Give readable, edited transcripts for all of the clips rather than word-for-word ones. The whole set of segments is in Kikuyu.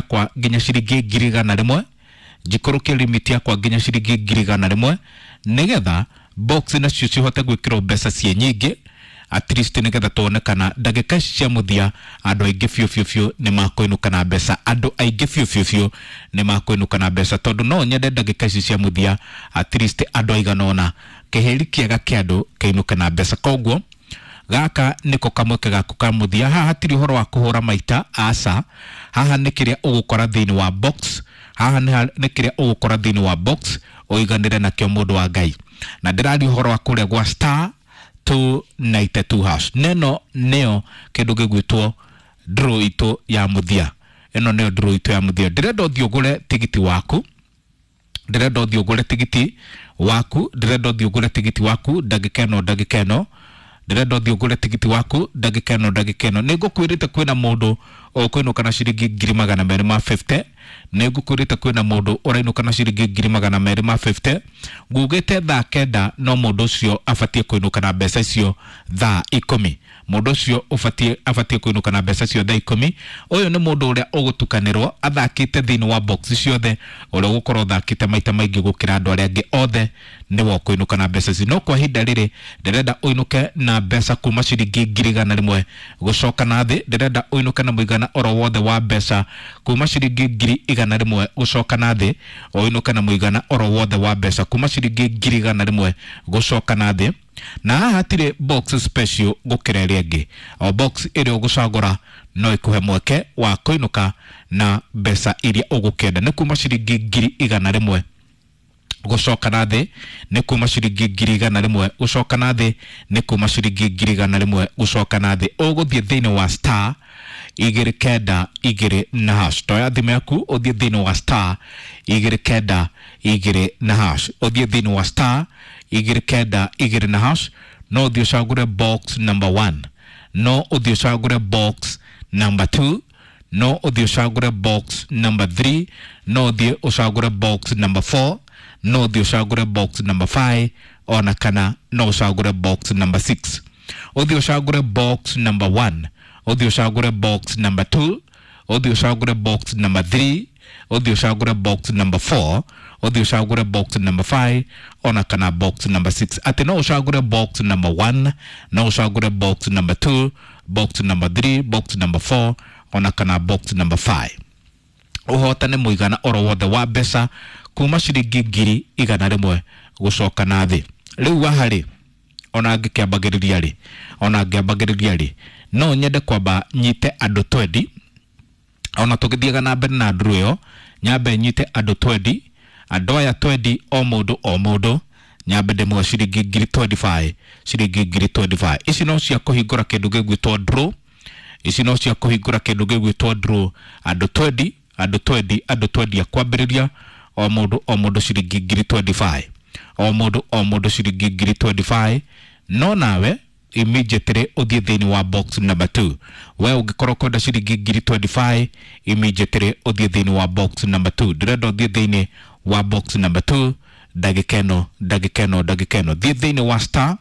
yakwa nginya ciringi 100,000, njikũrũkie limit yakwa nginya ciringi 100,000, nĩgetha box nacio cihote gwĩkĩrwo mbeca ciĩ nyingĩ, at least nĩgetha tuone kana ndagĩka ici cia mũthia andũ aingĩ biũ biũ biũ nĩ makũinũka na mbeca, andũ aingĩ biũ biũ biũ nĩ makũinũka na mbeca, tondũ no nyende ndagĩka ici cia mũthia at least andũ aigana ũna kĩhĩri kĩega kĩa andũ kĩinũke na mbeca. Koguo gaka nĩko kamweke gaku ka mũthia. Haha hatirĩ ũhoro wa kũhũra maita, aca. Haha nĩ kĩrĩa ũgũkora thĩinĩ wa box, haha nĩ kĩrĩa ũgũkora thĩinĩ wa box ũiganĩre nakĩo, mũndũ wa Ngai. Na ndĩraria ũhoro wa kũrĩa gwa star 292 hash. Neno nĩyo kĩndũ gĩgwĩtwo draw itũ ya mũthia. Ĩno nĩyo draw itũ ya mũthia. Ndĩrenda ũthiĩ ũgũre tigiti waku, ndĩrenda ũthiĩ ũgũre tigiti waku, ndĩrenda ũthiĩ ũgũre tigiti waku ndagĩka ĩno, ndagĩka ĩno ndĩrenda ũthiĩ ũgũre tigiti waku, ndagĩka ĩno, ndagĩka ĩno. Nĩ ngũkwĩrĩte kwĩna mũndũ ũkũinũka na ciringi 250,000. Nĩ ngũkwĩrĩte kwĩna mũndũ ũrainũka na ciringi 250,000. Ngugĩte thaa 9 no mũndũ ũcio abatiĩ kũinũka na mbeca icio thaa 10. Mũndũ ũcio ũbatiĩ abatiĩ kũinũka na mbeca icio thaa 10. Ũyũ nĩ mũndũ ũrĩa ũgũtukanĩrwo athakĩte thĩinĩ wa box ciothe, ũrĩa ũgũkorwo ũthakĩte maita maingĩ gũkĩra andũ arĩa angĩ othe, nĩwe ũkũinũka na mbeca ici. No kwa ihinda rĩrĩ ndĩrenda ũinũke na mbeca kuma ciringi 100,000 gũcoka na thĩ. Ndĩrenda ũinũke na mũigana oro wothe wa mbeca kuma ciringi 100,000 gũcoka na thĩ, ũinũke na mũigana oro wothe wa mbeca kuma ciringi 100,000 gũcoka na thĩ. Na haha hatirĩ box special gũkĩra ĩrĩa ĩngĩ, o box ĩrĩa ũgũcagũra no ĩkũhe mweke wa kũinũka na mbeca iria ũgũkĩenda. Nĩ kuma ciringi 100,000 gũcoka na thĩ, nĩ kuma ciringi 100,000 gũcoka na thĩ, nĩ kuma ciringi 100,000 gũcoka na thĩ. Ũgũthiĩ thĩinĩ wa star 292 na hash. Toya thimũ yaku ũthiĩ thĩinĩ wa star 292 na hash, ũthiĩ thĩinĩ wa star 292 na hash. No ũthiĩ ũcagũre box number 1, no ũthiĩ ũcagũre box number 2, no ũthiĩ ũcagũre box number 3, no ũthiĩ ũcagũre box number 4, no ũthiĩ ũcagũre box number 5, ona kana no ũcagũre box number 6. Ũthiĩ ũcagũre box number 1, ũthiĩ ũcagũre box number 2, ũthiĩ ũcagũre box number 3, ũthiĩ ũcagũre box number 4, ũthiĩ ũcagũre box number 5, ona kana box number 6. Atĩ no ũcagũre box number 1, no ũcagũre box number 2, box number 3, box number 4, ona kana box number 5, ũhotane mũigana oro wothe wa mbeca kuma ciringi 100,000 gũcoka na thĩ. Rĩu haha rĩ, ona ngĩkĩambagĩrĩria rĩ, ona ngĩambagĩrĩria rĩ, no nyende kwamba nyite andũ 20. Ona tũgĩthiaga na mbere na nduru ĩyo, nyambe nyite andũ 20. Andũ aya 20, o mũndũ o mũndũ nyambe ndĩmũhe ciringi 25,000, ciringi 25,000. Ici no cia kũhingũra kĩndũ gĩgwĩtwo draw, ici no cia kũhingũra kĩndũ gĩgwĩtwo draw. Andũ 20, andũ 20, andũ 20 a kwambĩrĩria, o mũndũ o mũndũ ciringi 25,000, o mũndũ o mũndũ ciringi 25,000. No nawe immediately ũthiĩ thĩinĩ wa box number 2. We ũngĩkorwo kwenda ciringi 25,000, immediately ũthiĩ thĩinĩ wa box number 2. Ndĩrenda ũthiĩ thĩinĩ wa box number 2 ndagĩka ĩno, ndagĩka ĩno, ndagĩka ĩno. Thiĩ thĩinĩ wa star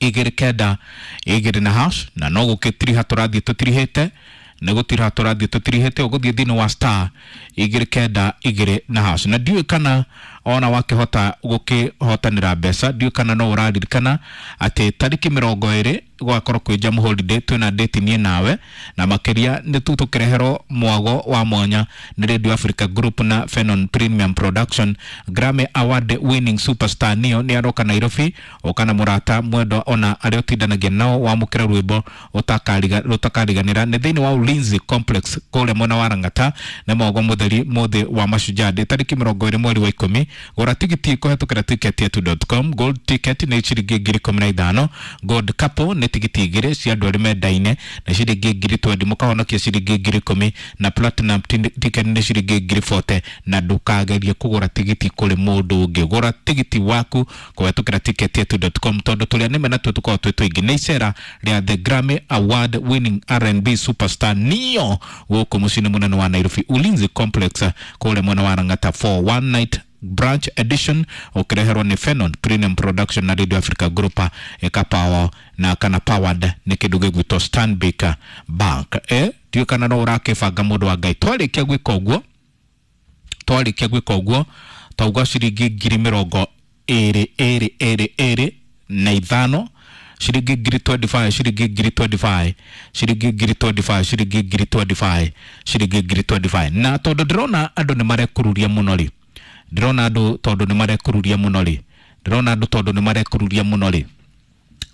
292 na hash. Na no gũgĩtiriha tũrathiĩ tũtirihĩte, nĩ gũtiriha tũrathiĩ tũtirihĩte. Ũgũthiĩ thĩinĩ wa star 292 na hash. Na ndiũĩ kana ona wakĩhota gũkĩhotanĩra mbeca, ndiũĩ kana no ũraririkana atĩ tarĩki 20 gwakorwo kwĩ Jamhuri Day, twĩna date niĩ nawe, na makĩria nĩ tu tũkĩreherwo mwago wa mwanya nĩ Radio Africa Group na Fenon Premium Production. Grammy Award winning superstar Neo nĩ aroka Nairobi. Ũka na mũrata mwendwa ona arĩa ũtindanagia nao, wamũkĩra rwĩmbo rũtakariganĩra. Nĩ thĩinĩ wa Ulinzi Complex kũrĩa mwena wa Lang'ata, nĩ mwago mũtheri mũthĩ wa Mashujaa Day tarĩki 20 mweri wa 10. Gũra tigiti kũhetũkĩra ticketyetu.com. Gold ticket nĩ ciringi 15,000. Gold couple nĩ tigiti igĩrĩ cia andũ arĩa mendaine na ciringi 20,000, mũkahonokia ciringi 10,000. Na platinum ticket nĩ ciringi 40,000. Na ndũkagerie kũgũra tigiti kũrĩ mũndũ ũngĩ, gũra tigiti waku kũhetũkĩra ticketyetu.com, tondũ tũrĩa nĩme natuo tũkoragwo twĩ tũingĩ. Nĩ icera rĩa the Grammy Award winning R&B superstar Neo gũkũ mũciĩ-inĩ mũnene wa Nairobi, Ulinzi Complex kũrĩa mwena wa Lang'ata, for one night branch edition, ũkĩreherwo nĩ Fenon Premium Production na Radio Africa Group, ĩkapawo na kana powered nĩ kĩndũ gĩgwĩtwo Stanbic Bank. Ndiũĩ kana no ũrakĩbanga mũndũ wa Ngai. Twarĩkia gwĩka ũguo, twarĩkia gwĩka ũguo twauga ciringi ngiri mĩrongo ĩrĩ ĩrĩ ĩrĩ ĩrĩ na ithano, ciringi ngiri 25, ciringi ngiri 25, ciringi ngiri 25, ciringi ngiri 25, ciringi ngiri 25. Na tondũ ndĩrona andũ nĩ marekururia mũno rĩ, ndĩrona andũ tondũ nĩ marekururia mũno rĩ, ndĩrona andũ tondũ nĩ marekururia mũno rĩ,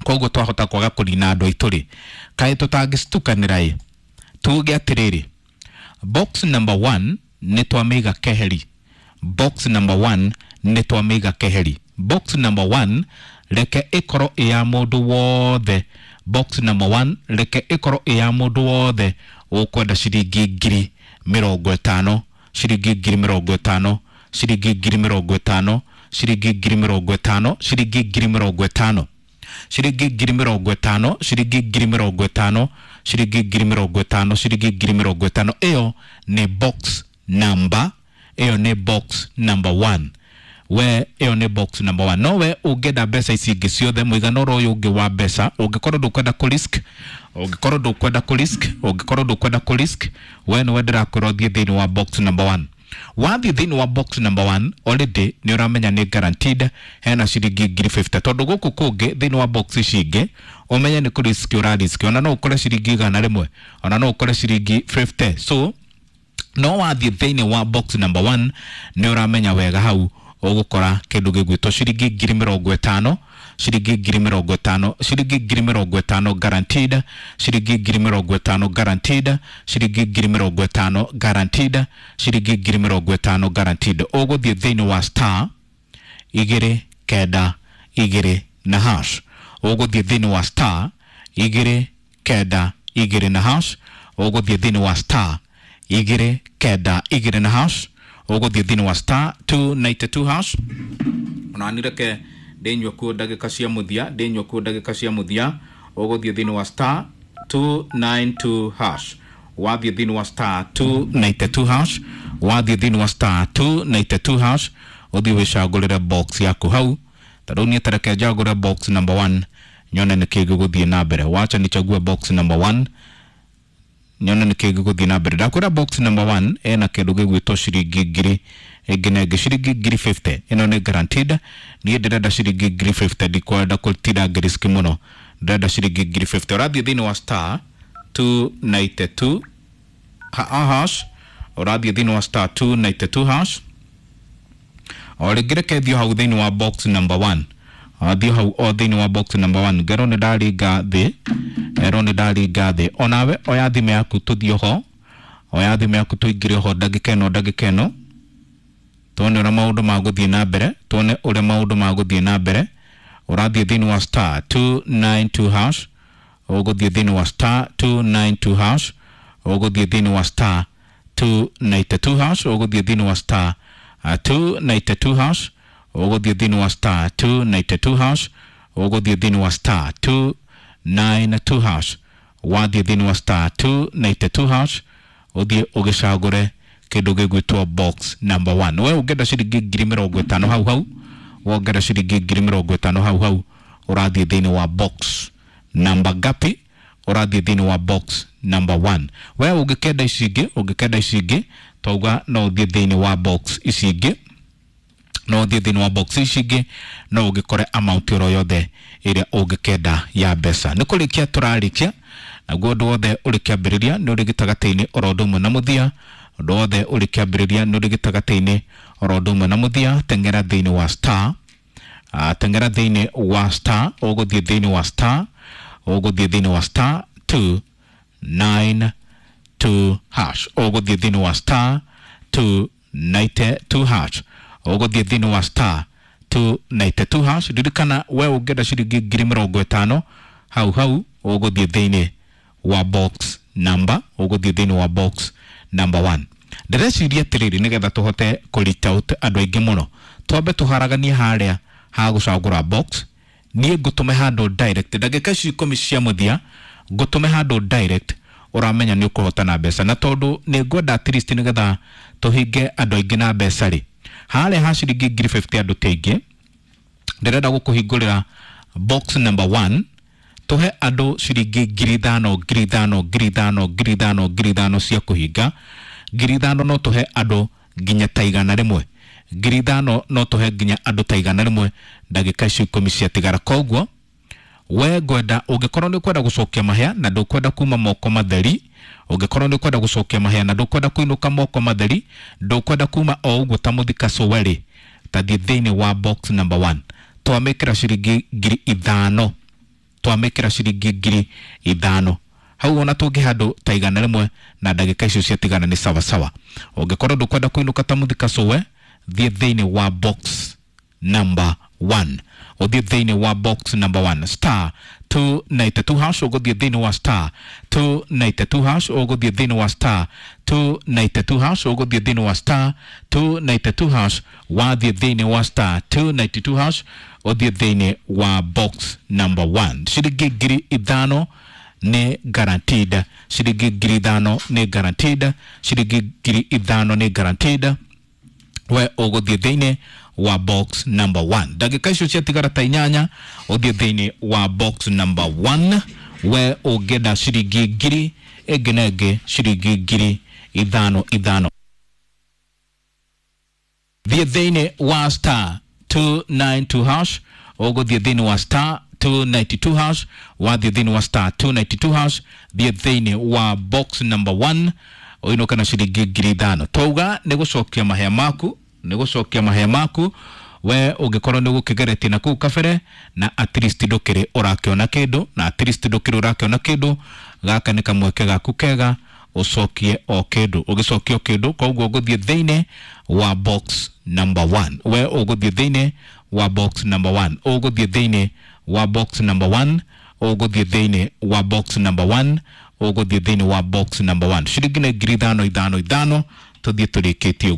koguo twahota kwaga kũnina andũ aitũ rĩ, kaĩ tũtangĩcitukanĩra ĩ, tuge atĩrĩrĩ, box number 1 nĩ twamĩiga keheri, box number 1 nĩ twamĩiga keheri, box number 1 reke ĩkorwo ĩ ya mũndũ wothe, box number 1 reke ĩkorwo ĩ ya mũndũ wothe ũkwenda ciringi ngiri mĩrongo ĩtano, ciringi ngiri mĩrongo ĩtano, ciringi ngiri mĩrongo ĩtano, ciringi ngiri mĩrongo ĩtano, ciringi ngiri mĩrongo ĩtano, ciringi ngiri mĩrongo ĩtano, ciringi ngiri mĩrongo ĩtano, ciringi ngiri mĩrongo ĩtano, ciringi ngiri mĩrongo ĩtano. Ĩyo nĩ box number, ĩyo nĩ box number 1. We ĩyo nĩ box number 1. No we ũngĩenda mbeca ici ingĩ ciothe, mũigana ũrĩa ũyũ ũngĩ wa mbeca, ũngĩkorwo ndũkwenda kũ risk, ũngĩkorwo ndũkwenda kũ risk, ũngĩkorwo ndũkwenda kũ risk, we nĩwe ndĩrakwĩra ũthiĩ thĩinĩ wa box number 1. Wathiĩ thĩinĩ wa box number 1 already nĩ ũramenya nĩ guaranteed hena ciringi ngiri 50, tondũ gũkũ kũngĩ thĩinĩ wa box ici ingĩ ũmenye nĩ kũ risk ũra risk, ona no ũkore ciringi 100, ona no ũkore ciringi 50. So no wathiĩ thĩinĩ wa box number 1 nĩ ũramenya wega hau ũgũkora kĩndũ gĩgwĩtwo ciringi ngiri mĩrongo ĩtano, ciringi ngiri mĩrongo ĩtano, ciringi ngiri mĩrongo ĩtano guaranteed, ciringi ngiri mĩrongo ĩtano guaranteed, ciringi ngiri mĩrongo ĩtano guaranteed, ciringi ngiri mĩrongo ĩtano guaranteed. Ũgũthiĩ thĩinĩ wa star igĩrĩ kenda igĩrĩ na hash, ũgũthiĩ thĩinĩ wa star igĩrĩ kenda igĩrĩ na hash, ũgũthiĩ thĩinĩ wa star igĩrĩ kenda igĩrĩ na hash, ũgũthiĩ thĩinĩ wa star 292 hash. Ona nireke ndĩnyue kuo ndagĩka cia mũthia, ndĩnyue kuo ndagĩka cia mũthia. Ũgũthiĩ thĩinĩ wa star 292 hash, wathiĩ thĩinĩ wa star 292 hash, wathiĩ thĩinĩ wa star 292 hash, ũthiĩ wĩcagũrĩre box yaku hau. Ta rĩu niĩ tareke njagũre box number 1 nyone nĩkĩ gĩgũthiĩ na mbere. Wacha nichague box number 1 nyone nĩkĩ gĩgũthiĩ na mbere. Ndakwĩra box number 1 ĩna kĩndũ gĩgwĩtwo ciringi ngiri ĩngĩ na ĩngĩ, ciringi ngiri 50. Ĩno nĩ guaranteed. Niĩ ndĩrenda ciringi ngiri 50, ndikwenda kũtinda ngĩriski mũno, ndĩrenda ciringi ngiri 50. Ũrathiĩ thĩinĩ wa star 292 hash, ũrathiĩ thĩinĩ wa star 292 hash. O rĩngĩ reke thiĩ hau thĩinĩ wa box number 1, athiĩ hau o thĩinĩ wa box number 1. Ngerwo nĩ ndaringa thĩ, erwo nĩ ndaringa thĩ. Onawe oya thimũ yaku tũthiĩ ho, oya thimũ yaku tũingĩre ho ndagĩka ĩno, ndagĩka ĩno, tuone ũrĩa maũndũ magũthiĩ na mbere, tuone ũrĩa maũndũ magũthiĩ na mbere. Ũrathiĩ thĩinĩ wa star 292 hash, ũgũthiĩ thĩinĩ wa star 292 hash, ũgũthiĩ thĩinĩ wa star 292 hash, ũgũthiĩ thĩinĩ wa star 292 hash, ũgũthiĩ thĩinĩ wa star 292 hash, ũgũthiĩ thĩinĩ wa star 292 hash. Wathiĩ thĩinĩ wa star 292 hash, ũthiĩ ũgĩcagũre kĩndũ gĩgwĩtwo box number 1. We ũngĩenda ciringi ngiri mĩrongo ĩtano hau hau, wongera ciringi ngiri mĩrongo ĩtano hau hau, ũrathiĩ thĩinĩ wa box number ngapi? Ũrathiĩ thĩinĩ wa box number 1. We ũngĩkenda ici ingĩ, ũngĩkenda ici ingĩ, twauga no ũthiĩ thĩinĩ wa box ici ingĩ, no ũthiĩ thĩinĩ wa box ici ingĩ, no ũgĩkore amount oro yothe ĩrĩa ũngĩkenda ya mbeca. Nĩ kũrĩkia tũrarĩkia, naguo ũndũ wothe ũrĩ kĩambĩrĩria nĩ ũrĩ gĩtagatĩ-inĩ oro ũndũ ũmwe na mũthia, ũndũ wothe ũrĩ kĩambĩrĩria nĩ ũrĩ gĩtagatĩ-inĩ oro ũndũ ũmwe na mũthia. Teng'era thĩinĩ wa star, teng'era thĩinĩ wa star, ũgũthiĩ thĩinĩ wa star, ũgũthiĩ thĩinĩ wa star 292 hash, ũgũthiĩ thĩinĩ wa star 292 hash, ũgũthiĩ thĩinĩ wa star 292 hash. Ririkana we ũngĩenda ciringi ngiri mĩrongo ĩtano hau hau, ũgũthiĩ thĩinĩ wa box number, ũgũthiĩ thĩinĩ wa box number 1. Ndĩreciria atĩrĩrĩ, nĩgetha tũhote kũ reach out andũ aingĩ mũno, twambe tũharaganie harĩa ha gũcagũra box. Niĩ ngũtũme handũ direct ndagĩka ici ikũmi cia mũthia, ngũtũme handũ direct ũramenya nĩ ũkũhotana mbeca. Na tondũ nĩ ngwenda at least nĩgetha tũhinge andũ aingĩ na mbeca rĩ, harĩa ha ciringi ngiri 50 andũ ti aingĩ, ndĩrenda gũkũhingũrĩra box number 1. Tũhe andũ ciringi 5,000 5,000 5,000 5,000 5,000 cia kũhinga. 5,000 no tũhe andũ nginya ta 100. 5,000 no tũhe nginya andũ ta 100 ndagĩka icio 10 ciatigara. Koguo we ngwenda ũngĩkorwo nĩ ũkwenda gũcokia mahĩa na ndũkwenda kuma moko matheri, ũngĩkorwo nĩ ũkwenda gũcokia mahĩa na ndũkwenda kũinũka moko matheri, ndũkwenda kuma o ũguo ta mũthika cũwe-rĩ, tathiĩ thĩinĩ wa box number 1. Twamĩkĩra ciringi 5,000, twamĩkĩra ciringi 5,000 hau ona tũngĩ handũ ta 100 na ndagĩka icio ciatigana nĩ sawasawa. Ũngĩkorwo ndũkwenda kũinũka ta mũthika cũwe, thiĩ thĩinĩ wa box number 1, ũthiĩ thĩinĩ wa box number 1 star 292 hash, ũgũthiĩ thĩinĩ wa star 292 hash, ũgũthiĩ thĩinĩ wa star 292 hash, ũgũthiĩ thĩinĩ wa star 292 hash, wathiĩ thĩinĩ wa star 292 hash, ũthiĩ thĩinĩ wa box number 1. Ciringi 5,000 nĩ guaranteed, ciringi 5,000 nĩ guaranteed, ciringi 5,000 nĩ guaranteed. We ũgũthiĩ thĩinĩ wa box number 1. Ndagĩka icio ciatigara ta 8, ũthiĩ thĩinĩ wa box number 1. We ũngĩenda ciringi 1,000 ĩngĩ na ĩngĩ, ciringi 5,000 5. Thiĩ thĩinĩ wa star 292 hash, ũgũthiĩ thĩinĩ wa star 292 hash, wathiĩ thĩinĩ wa star 292 hash, thiĩ thĩinĩ wa box number 1 ũinũke na ciringi 5,000. Twauga nĩ gũcokia mahĩa maku, nĩ gũcokia mahĩa maku. We ũngĩkorwo nĩ ũgũkĩgeretie na kũu kabere na at least ndũkĩrĩ ũrakĩona kĩndũ, na at least ndũkĩrĩ ũrakĩona kĩndũ, gaka nĩ kamweke gaku kega ũcokie o kĩndũ, ũgĩcokia o kĩndũ. Koguo ũgũthiĩ thĩinĩ wa box number 1. We ũgũthiĩ thĩinĩ wa box number 1, ũgũthiĩ thĩinĩ wa box number 1, ũgũthiĩ thĩinĩ wa box number 1, ũgũthiĩ thĩinĩ wa box number 1. Ciringi nĩ 5,000 5 5, tũthiĩ tũrĩkĩtie ũguo.